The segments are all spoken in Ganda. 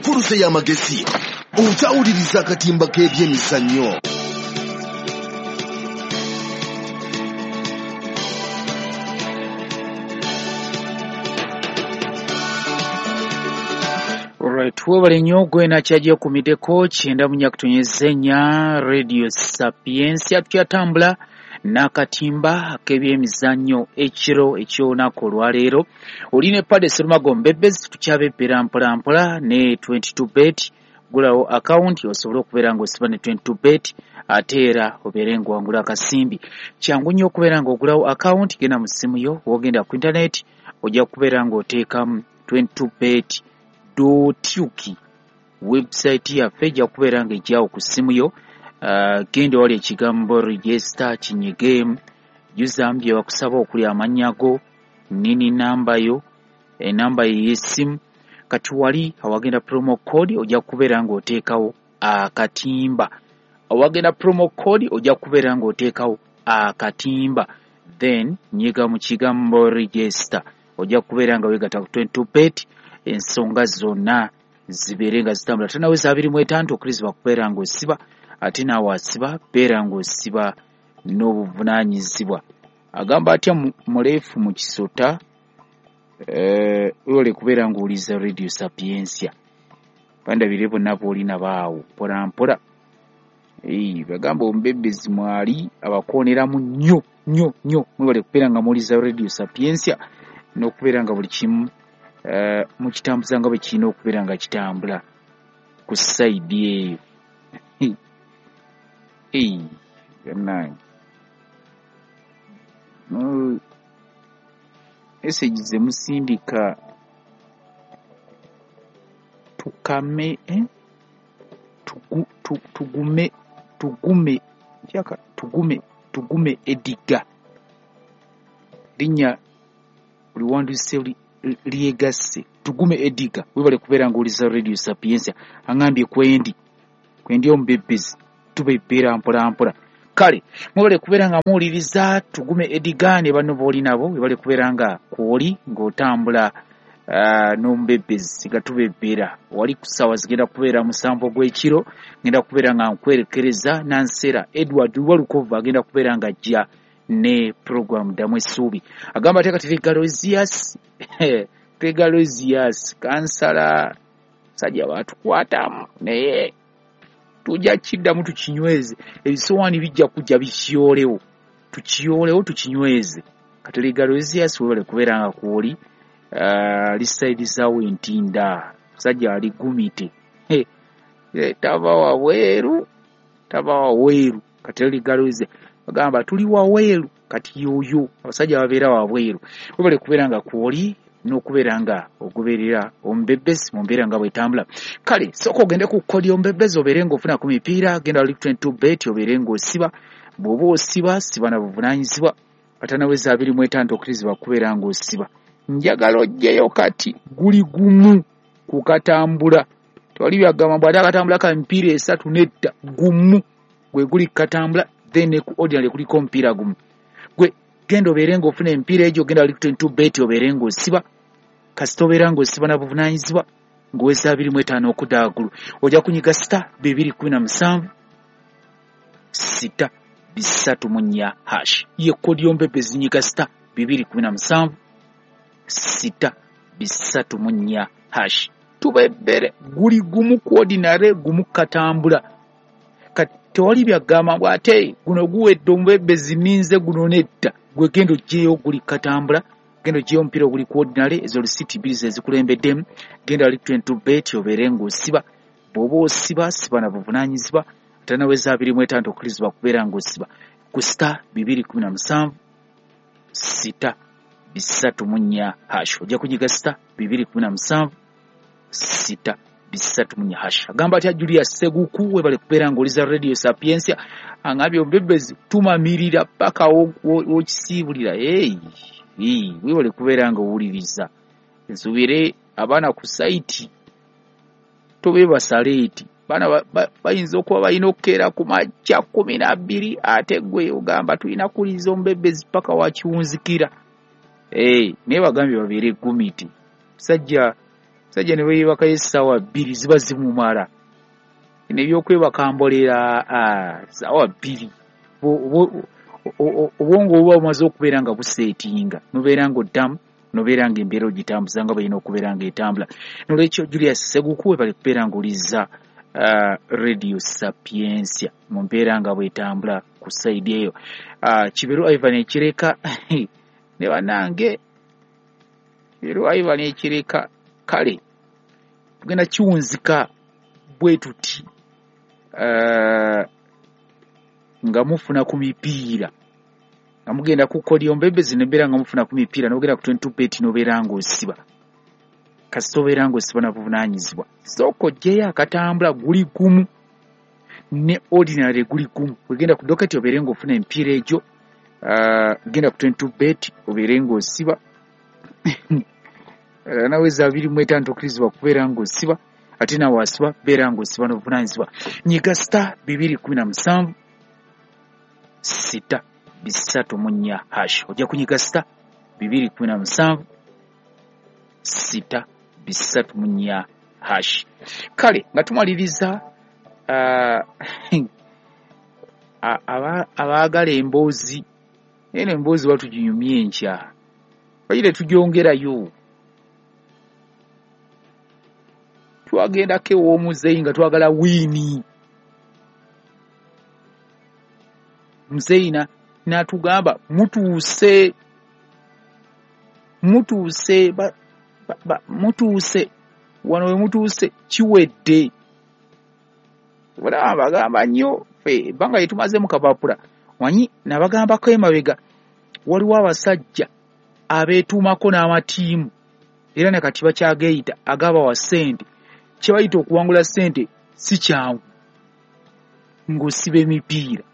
Enkuluze y'amagezi okyawuliriza akatimba k'ebyemizannyo. Alright, webale nnyo gwena kyagyekumideko 94.4 Radio Sapientia. Tukyatambula n'akatimba ak'ebyemizannyo ekiro eky'olunaku olwaleero. Oli ne Pade Serumago Mbebezi, tukyabebbera mpola mpola ne 22 bet. Gulawo akawunti osobole okubeera ng'osiba ne 22 bet, ate era obeere ng'owangula akasimbi. Kyangu nnyo okubeera ng'ogulawo akawunti, genda mu ssimu yo, w'ogenda ku internet ojja kubeera ng'oteekamu 22 bet .uk. Website yaffe ejja kubeera ng'ejjawo ku ssimu yo. Genda wali ekigambo register kinyigeemu, jjuzaamu bye bakusaba okuli amannya go, nini namba yo, enamba yo ey'essimu. Kati wali awagenda promo code ojja kubeera ng'oteekawo akatimba. Awagenda promo code ojja kubeera ng'oteekawo akatimba, then nyiga mu kigambo register, ojja kubeera nga weegatta ku 22 bet, ensonga zonna zibeere nga zitambula. Tanaweza 25 okkirizibwa kubeera ng'osiba, ate naawe asiba beera ng'osiba n'obuvunaanyizibwa. Agamba atya muleefu mu kisota, wewale kubeera ng'owuliriza Radio Sapientia. Bandabire bonna b'olina baawo mpola mpola. Bagamba omubebezi mwali abakooneramu nnyo nnyo nnyo. Mwebale kubeera nga muwuliriza Radio Sapientia n'okubeera nga buli kimu mukitambuza nga bwe kirina okubeera nga kitambula ku sayidi eyo. Bannange, message ze musindika tukame, tugume tugume kyaka tugume tugume Ediga linnya liwandiise lyegasse tugume Ediga. Webale kubeera ng'owuliriza Radio Sapientia. Aŋŋambye kwendi kwendi omubebezi tubebbera mpola mpola. Kale mwebale kubeera nga muwuliriza tugume Ediga ne banno b'oli nabo. Webale kubeera nga kw'oli ng'otambula n'omubebezi nga tubebbera. Wali ku ssaawa zigenda kubeera 7 ogw'ekiro, ngenda kubeera nga nkwerekereza Nansera Edward Walukovu agenda kubeera nga ajja ne program Ddamu Essuubi. Agamba ate kati Tegalozias Tegalozias kansala sajja baatukwatamu naye tujja kiddamu tukinyweze. Ebisowaani bijja kujja bikiyolewo, tukiyolewo tukinyweze. Kati Tegalozias webale kubeera nga kw'oli lisaidizawo entinda, musajja ali gumite, tava wabweru, tava wabweru. Kati Tegalozias bagamba tuli wabweru, kati yoyo abasajja babeera wabweru. Webale kubeera nga kw'oli n'okubeera nga ogoberera omubebezi mu mbeera nga bw'etambula. Kale sooka ogende ku kodi omubebezi obeere ng'ofuna ku mipiira, genda wali 22 bet obeere ng'osiba. Bw'oba osiba siba na buvunaanyizibwa. Atanaweza 25 okkirizibwa kubeera ng'osiba. Njagala oggyeyo kati guli gumu ku katambula. Tewali byagamba mbu ate akatambula ka mipiira 3 nedda, gumu gwe guli katambula, then ne ku ordinary kuliko omupiira gumu. Gwe genda obeere ng'ofuna emipiira egyo, genda wali 22 bet obeere ng'osiba. Kasita obeera ng'osiba na buvunaanyizibwa ng'oweza 25 okudda waggulu. Ojja kunyiga star 217 6 3 4 hash. Ye kodi y'omubebezi, nyiga star 217 6 3 4 hash. Tubebbere guli gumu ku ordinary, gumu katambula. Kati tewali byagamba mbu ate guno guwedde omubebezi ninze guno nedda. Gwe genda oggyeyo guli katambula, genda oggyeyo omupiira oguli ku ordinary, ezo lisiti 2 ze zikulembeddemu. Genda wali 22 bet obeere ng'osiba. Bw'oba osiba siba na buvunaanyizibwa. Atanaweza 25 okkirizibwa kubeera ng'osiba ku star 217 6 3 4 hash. Ojja kunyiga star 217 6 3 4 hash. Agamba atya Julius Seguku, webale kubeera ng'oliza Radio Sapientia. Angambye omubebezi tumamirira paka w'okisiibulira. Webale kubeera ng'owuliriza. Nsuubire abaana ku sayiti tobeebasaleeti. Baana bayinza okuba balina okukeera ku makya 12, ate gwe ogamba tulina kuwuliriza omubebezi paka wakiwunzikira. Naye bagambye babeere gumiti. Musajja Musajja ne bweyebakayo essaawa 2 ziba zimumala. Nebyokwebaka mbolera ssaawa 2. Obwongo buba bumaze okubeera nga buseetinga, nobeera ng'oddamu, nobeera ng'embeera ogitambuza nga bw'erina okubeera ng'etambula. Nolwekyo Julius Seguku, webale kubeera ng'owuliriza Radio Sapientia mu mbeera nga bw'etambula ku sayidi eyo. Kiberu Ivan Ekireka ne bannange, Kiberu Ivan Ekireka, kale tugenda kiwunzika bwe tuti nga mufuna ku mipiira, nga mugenda ku Kolio Mbebezi nembeera nga mufuna ku mipiira, n'ogenda ku 22 bet n'obeera ng'osiba. Kasita obeera ng'osiba na buvunaanyizibwa. Sooka oggyeyo akatambula guli gumu ne ordinary guli gumu. Wegenda ku doketi obeere ng'ofuna emipiira egyo, genda ku 22 bet obeere ng'osiba. Naweza 25 tokkirizibwa kubeera ng'osiba, ate nawe asiba beera ng'osiba n'obuvunaanyizibwa. Nyiga star 217 6 3 4 hash. Ojja kunyiga star 217 6 3 4 hash. Kale nga tumaliriza, abaagala emboozi, eno emboozi batuginyumye enkya, bayire tugyongerayo. Twagendako ew'omuzeeyi nga twagala wiini. Muzeeyi n'atugamba mutuuse, mutuuse, mutuuse, wano we mutuuse kiwedde. Olaba bagamba nnyo ffe ebbanga lye tumaze mu kapapula, manyi nabagambako emabega waliwo abasajja abeetuumako n'amatiimu era ne kati bakyageeyita agabawa ssente. Kye bayita okuwangula ssente si kyangu ng'osiba emipiira.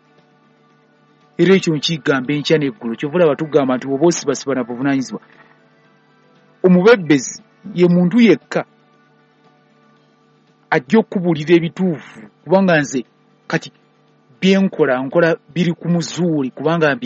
Era ekyo nkigamba enkya n'eggulo, kyova olaba tugamba nti bw'oba osibasiba na buvunaanyizibwa. Omubebbezi ye muntu yekka ajja okubuulira ebituufu, kubanga nze kati bye nkola nkola biri ku muzuuli kubanga